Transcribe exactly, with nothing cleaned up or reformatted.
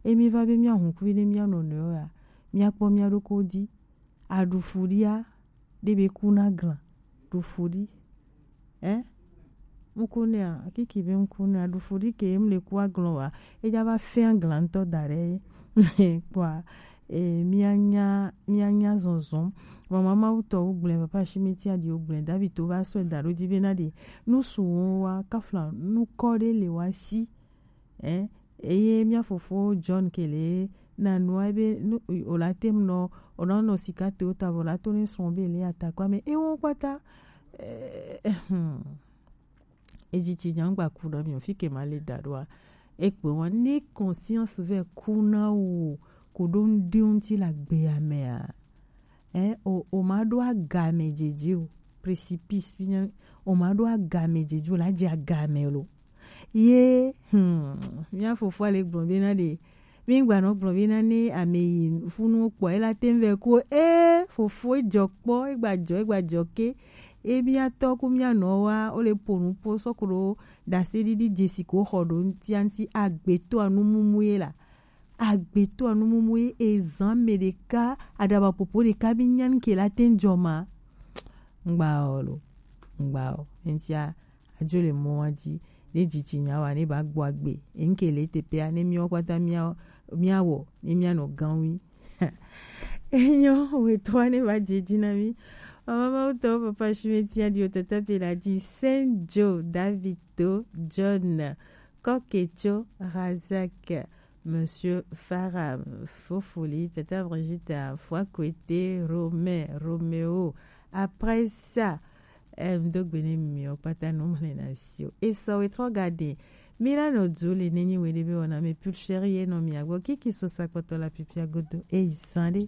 Emi va be mia hunkuvi ne mia nɔ nɔ ya, mia kpɔ mia ɖo ko di. Aɖu fu ɖia, ɖe be ku na glan. Ɖu fu ɖi. Eh? Ŋkunea, kiki be ŋkunea, ɖu fu ɖi ke em le ku aglan wa. Eja va fɛn aglan ŋutɔ da ɖe. Kpɔa, eh, mia nya, mia nya zɔzɔm. Mama Mawu tɔ wo gblẽ, papa Shimeti aɖi wo gblẽ, David to va sɔe da ɖo dzi be na ɖe. Nu su wo wa, kafla, nu kɔ ɖe le wa si. Eh? Eye mia fofo John kele na nua be nu, o la tem nɔ, o nɔ nɔ sika to ta vo la to ne srɔ̃ be le atakwa me. E wo kpata, eh, hmm. Eji ci nyangba ku na mi o fi ke ma le da ɖoa. E kpe wa ne conscience ve ku na wo, ko ɖo ŋdi ŋuti la gbe ya mea. Eh, o, o ma ɖo agame djedze o. Précipice, fia, o ma ɖo agame djedze o, la dze agame lo. Ye, hmm, mia fofo ale gblɔ be na ɖe. Mi gba nɔ gblɔ be na ne ame yi funu kpɔ, ela tem ve ko, eh, fofo e jɔ kpɔ, e gba jɔ, e gba jɔ ke. E mia tɔ ku mia nɔ wa, o le po nu po sɔ ko ɖo dase ɖiɖi dzesi ko xɔ ɖo ŋtia ŋti agbeto anu mumu ye la. Agbeto anu mumu ye ezan me ɖeka, aɖaba popo ɖeka bi nyan ke la te ŋdzɔ ma. Ŋgba o lo, ŋgba o. Eŋtia, adzo le mɔ wa dzi, ne dzidzi nya wa, ne ba gbɔ agbe. Eŋke le teƒea, ne miawo kpata mia, mia wɔ, ne mia nɔ ganwi. Enyo, wetɔa ne va dzi dzi na mi. Mama Mawu tɔ, papa Shimeti aɖi o tata pe la dzi. Saint Joe, David to, John, Koketso, Razak, Monsieur Farah, Fofoli, Tata Brigitte, Foikwete, Romain, Romeo. Après ça, eh, ŋdo gbe ne mi o kpata no mle na si o. Et ça, we trop garder. Milano Dzuli, nenyi we de be ona me pure chérie, no mi agbo, kiki so sa kpoto la pipia godo. Eh, sande.